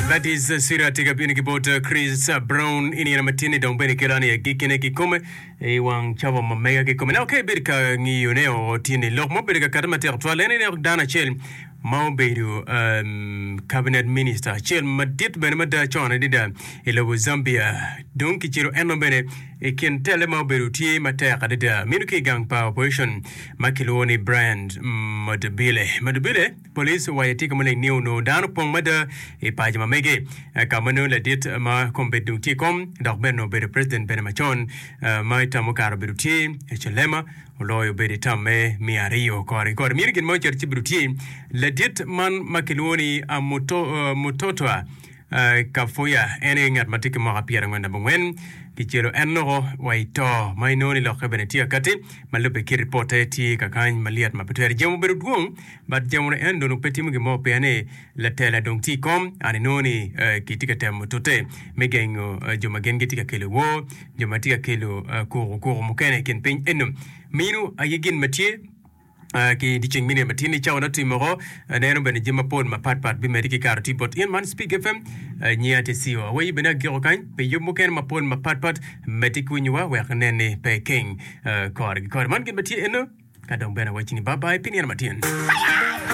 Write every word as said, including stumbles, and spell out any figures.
That is uh, Sira tye ka bino ki bot uh, Chris uh, Brown i nino matin-ni dong bene kelo ni agikkine kikome i wang cawa ma mega kikome. Na ka ibedo ka ngiyone o tye-ni lok mo obedo ka kati matek twal en ineno dano acel ma obedo um, cabinet minister acel madit bene mada con adada i lobo Zambia dong kicelo eno bene i kin tele ma obedo tye matek adada mino ki i gang pa opposition ma kilwongo ni Brian Mundubile. Mundubile police owaco tye ka maleng ni onongo dano opong mada i paco ma mege eh, ka ma nongo ladit ma kombeddi dong tye i kom dok bene onongo obedo president bene macon eh, ma i tam mukato obedo tye Hichilema oloyo obedo i tam me miya aryo kore ki kore mino gin ma ocito ci bedo tye ladit man ma kilwongo ni ah, Muto, uh, Mutotwa uh, Kafuya en aye ngat ma tye ki mwaka pyerangwen abongwen kicelo en loko wa i to ma inongo ni lokke bene tye akati ma lubbe ki ripote tye kakany malyet ma pe twere jemo obedo dwong but jemo ni en dong pe timo gin mo pien ni latela dong tye i kom an inongo ni uh, kitye ka temo tute me gengo uh, jo ma gin gitye ka kelo woo jo ma tye ka kelo uh, kuku kuku mukene i kin piny eno mino aye gin ma tye Uh, ki dyeceng mine matin ni cawa notimo ko uh, neno bene jami mapol mapatpat bimedi ki karo tye bot in man Speak FM uh, nyinga tye CEO aweyi bene agiko kany pi yub mukene mapol mapatpat medi ki winyowa wek inen ni pe keng uh, kore ki kore man gin ma tye eno ka dong bene awacci ni bye bye pi nino matin.